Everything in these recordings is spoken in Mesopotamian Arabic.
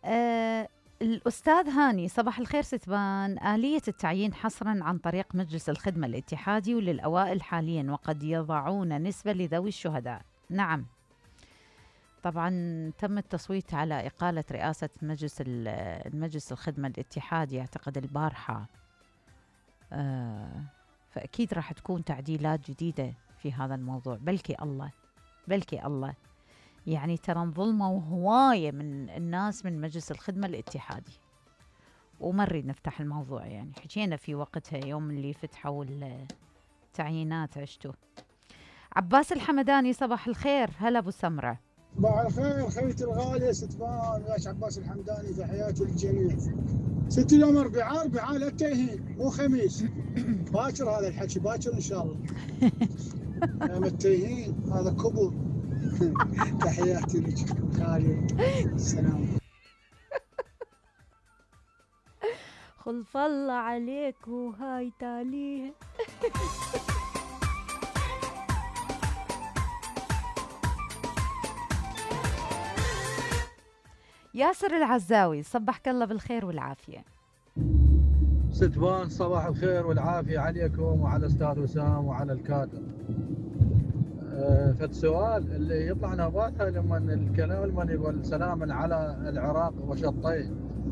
آه الأستاذ هاني، صباح الخير ستبان. آلية التعيين حصرا عن طريق مجلس الخدمة الاتحادي وللأوائل حاليا، وقد يضعون نسبة لذوي الشهداء. نعم، طبعا تم التصويت على إقالة رئاسة المجلس الخدمة الاتحادي أعتقد البارحة. فأكيد راح تكون تعديلات جديدة في هذا الموضوع. بلكي الله يعني ترى انظلموا هواية من الناس من مجلس الخدمة الاتحادي، وما نريد نفتح الموضوع، يعني حكينا في وقتها يوم اللي فتحوا التعيينات عشتوا. عباس الحمداني، صباح الخير. هلا ابو سمرة. صباح الخير خيتي الغالية ستفان، وياش عباس الحمداني، تحياتي للجميع. ست يوم اربعاء لا تتيهين، مو خميس. باكر هذا الحكي، باكر ان شاء الله. يوم التيهين هذا كبر. تحياتي لك غالية، السلام. خلف الله عليك وهاي تاليه. ياسر العزاوي، صبحك الله بالخير والعافية. ستبان صباح الخير والعافية عليكم وعلى أستاذ وسام وعلى الكادر. فالسؤال اللي يطلع نباتها لما الكلام لما يقول سلاما على العراق وشطيه،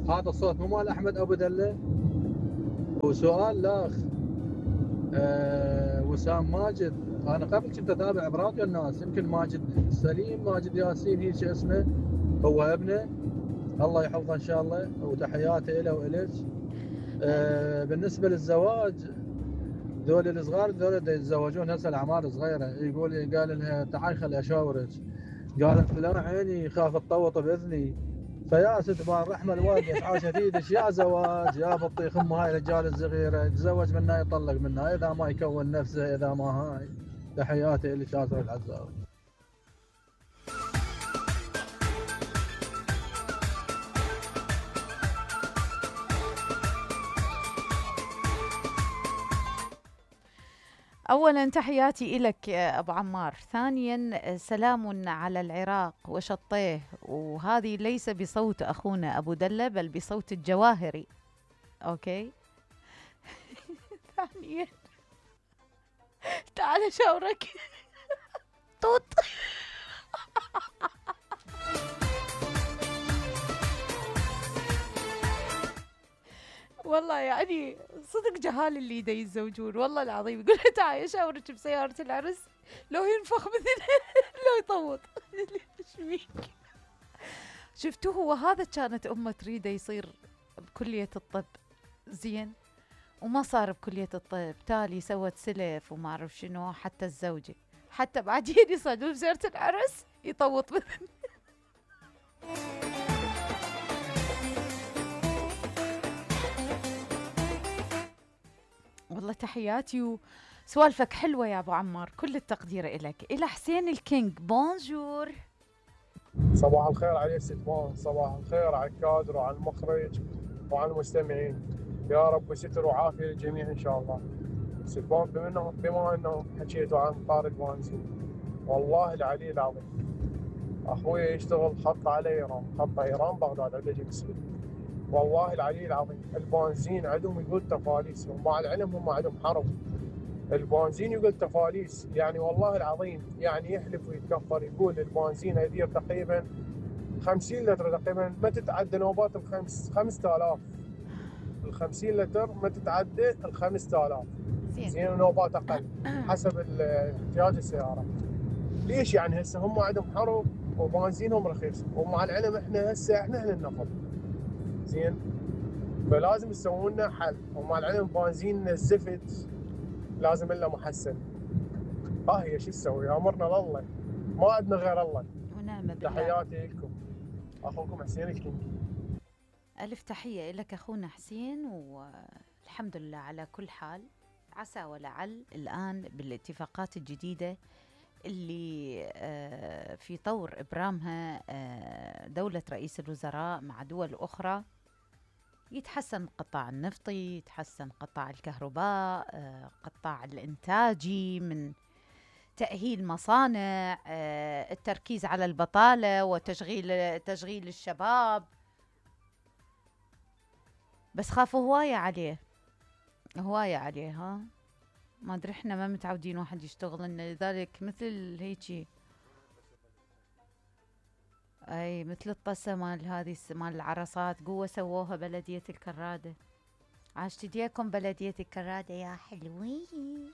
هذا الصوت مو مال أحمد أبو دلة؟ وسؤال لاخ وسام ماجد، أنا قبل كنت أتابع براديو الناس، يمكن ماجد سليم ماجد ياسين هيك اسمه، هو ابنه، الله يحفظه إن شاء الله، وتحياتي له وإليك. بالنسبة للزواج، ذول الصغار ذول يتزوجون هسه الأعمار صغيرة، قال لها تعال خلي أشاورك، قالت لا عيني خاف تطوط بإذني. فيا ستبان رحمة الوالدة عاشت ايدك، يا زواج يا بطيخ ام هاي الرجال الصغيرة، يتزوج منها يطلق منها إذا ما يكون نفسه، إذا ما هاي. تحياتي لك ياسر العزاوي. أولا تحياتي إلك أبو عمار. ثانيا سلام على العراق وشطيه، وهذه ليس بصوت أخونا أبو دلة بل بصوت الجواهري. أوكي. ثانيا تعال شاورك توت. والله يعني صدق جهال اللي دا يتزوجون، والله العظيم يقول لها تعالي اشاورك بسيارة العرس، لو ينفخ مثل لو يطوط. ايش شفتوه؟ هو هذا كانت امه تريده يصير بكلية الطب، زين، وما صار بكلية الطب، تالي سوت سلف وما اعرف شنو، حتى الزوجة حتى بعدين يصعدون بسيارة العرس يطوط مثل. والله تحياتي وسوالفك حلوة يا أبو عمار، كل التقدير إلك. إلى حسين الكينج، بونجور. صباح الخير على ستبان، صباح الخير على الكادر وعلى المخرج وعلى المستمعين، يا رب ستر وعافية للجميع إن شاء الله. ستبان بما أنه حكيتوا عن طار البنزين، والله العلي العظيم أخوي يشتغل خط على إيران، خط إيران بغداد عند جنسية، والله العلي العظيم البنزين عندهم يقول تفاليس، ومع العلم هم عندهم حرب، البنزين يقول تفاليس، يعني والله العظيم يعني يحلف ويتكفر، يقول البنزين يدير تقريبا 50 لتر تقريبا ما تتعدى نوبات 5000، ال 50 لتر ما تتعدى ال 5000، زين نوبات اقل حسب احتياج السياره. ليش يعني هسه هم عندهم حرب وبنزينهم رخيص، ومع العلم احنا هسه احنا اهل النفط، زين، فلازم يسوون لنا حل، ومع العلم بنزيننا الزفت لازم له محسن. هي شو نسوي؟ امرنا لله، ما عندنا غير الله ونعم بالله. تحياتي لكم، اخوكم حسين الكينج. الف تحيه لك اخونا حسين، والحمد لله على كل حال. عسى ولعل الان بالاتفاقات الجديده اللي في طور ابرامها دوله رئيس الوزراء مع دول اخرى، يتحسن القطاع النفطي، يتحسن قطاع الكهرباء، قطاع الإنتاجي من تأهيل مصانع، التركيز على البطالة وتشغيل الشباب. بس خافوا هواية عليه، هواية عليه. ها ما ادري، احنا ما متعودين واحد يشتغل لنا، لذلك مثل هيجي. اي مثل الطسة مال هذه مال العرصات، قوة سووها بلدية الكرادة. عاشت ايديكم بلدية الكرادة يا حلوين.